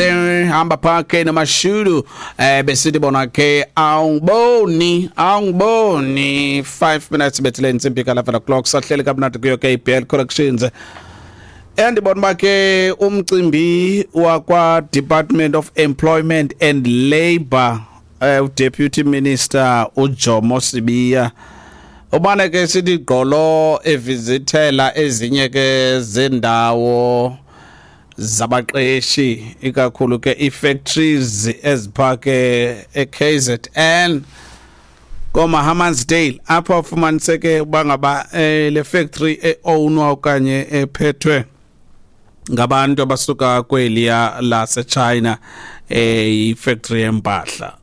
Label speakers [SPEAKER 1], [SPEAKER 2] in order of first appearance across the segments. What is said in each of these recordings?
[SPEAKER 1] Hamba phakhe noMashudu besithi bona ke awungiboni, awungiboni. 5 minutes bethile intsimbi ka 11 o'clock, sahleli kamnandi kuyo KBL Collections. Endibona uba ke umcimbi wakwa Department of Employment and Labor, Deputy Minister uJomo Sibiya ubane ke sithi gqolo evizithela ezinye ke zendawo zabaqeshi, ikakhulu ke ii-factories eziphake e-KZN koma-Hammansdale, apho afumaniseke uba ngaba le factory e-ownwa okanye ephethwe ngabantu abasuka kweliya laseChina, ifactory yempahla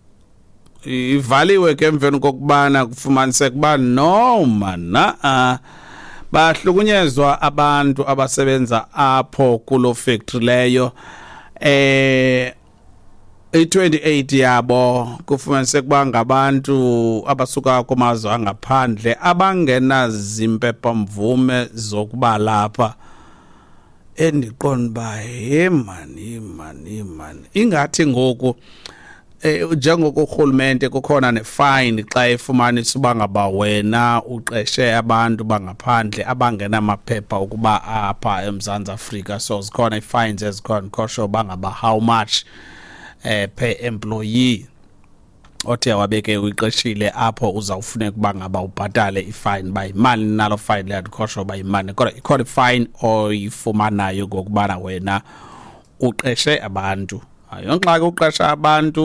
[SPEAKER 1] ivaliwe ke emveni kokubana kufumaniseka uba no man a bahlukunyezwa abantu abasebenza apho kulo factory leyo. I-28 yabo kufumaniseka uba ngabantu abasuka kumazwe angaphandle abangenazimpepha mvume zokuba lapha. Endiqonda uba he mani, he mani, he mani, ingathi ngoku njengoko urhulumente kukhona nefine xa efumanisa uba ngaba wena uqeshe abantu bangaphandle abangenamaphepha ukuba apha eMzantsi Afrika. So zikhona ii-fines ezikhona, khosho uba ngaba how much per employee othe wabeke uyiqeshile apho uzawufuneka uba ngaba ubhatale ifine, uba yimali nalo fine leyo, andikho uba yimali, kodwa ikhona ifine oyifumanayo ngokubana wena uqeshe abantu. Ayongxaki uqesha abantu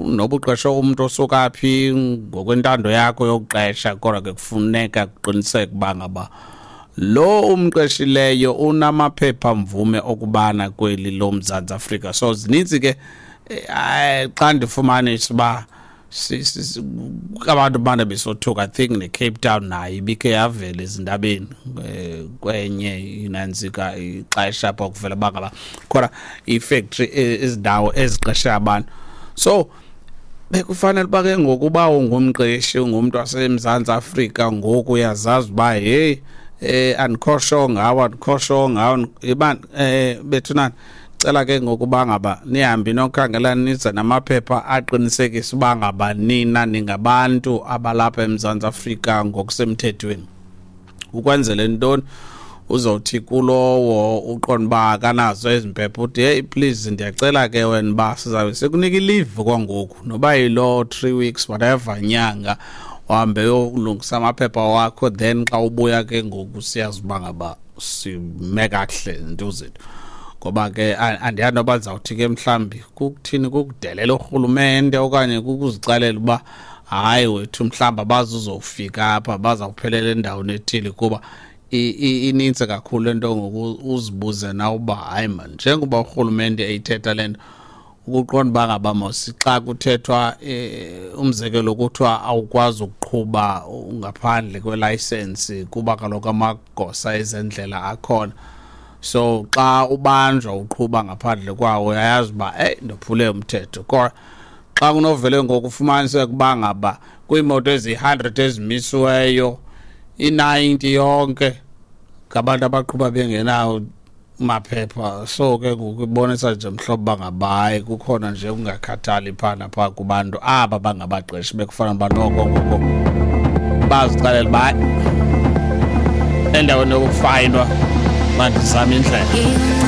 [SPEAKER 1] noba uqeshe umntu osuka phi ngokwentando yakho yokuqesha, kodwa ke kufuneka kuqiniseke uba ngaba lo umqeshileyo unamaphepha mvume okubana kweli loMzantsi Afrika. So zininzi ke xa ndifumanisa uba abantu bana besothuka. I think ne-Cape Town nayo ibikhe yavela ezindabeni kwenye inantsika ixesha apho kuvela uba ngaba khona ii-factory, izindawo eziqeshe abantu. So bekufanele uba ke ngokuba ungumqeshi, ungumntu waseMzantsi Afrika, ngoku uyazazi uba heyi, andikho sure ngawo, andikho sure ngawo iba bethunani, cela ke ngokuba ngaba nihambe nokhangela, nize namaphepha aqinisekisa uba ngaba nina ningabantu abalapha eMzantsi Afrika ngokusemthethweni. Ukwenzele ntoni? Uzawuthi kulowo uqonda uba akanazo ezi mpepha uthi, "Hey, please, ndiyacela ke wena uba sizabe sikunika i-leave kwangoku, noba yiloo 3 weeks, whatever, nyanga, uhambe uyolungisa amaphepha wakho, then xa ubuya ke ngoku siyazi uba ngaba sime kakuhle nto zethu." Ngoba ke andiyazi noba ndizawuthi ke mhlawumbi kukuthini, kukudelela urhulumente okanye kukuzicalela uba hayi wethu, mhlawumbi abazuzofika apha, bazawuphelela endaweni ethile, kuba inintsi kakhulu le nto. Ngoku uzibuze na uba hayi man, njengoba urhulumente eyithetha le nto, ukuqonda uba ngaba mos xa kuthethwa umzekelo kuthiwa awukwazi ukuqhuba ngaphandle kwelayisensi kuba kaloku amagosa ezendlela akhona, so xa ubanjwa uqhuba ngaphandle kwawo uyayazi uba eyi, ndophule umthetho. Kodwa xa kunovele ngoku ufumaniseke uba ngaba kwiimoto eziyi-100 ezimisiweyo, i-90 yonke ngabantu abaqhuba bengenawo maphepha, so ke ngoku ibonisa nje mhlobo uba ngaba hayi, kukhona nje ukungakhathali phaa naphaa kubantu aba bangabaqeshi. Bekufanele uba noko ngoko bazixelela uba hayi, endaweni yokufayinwa mandizame indlela.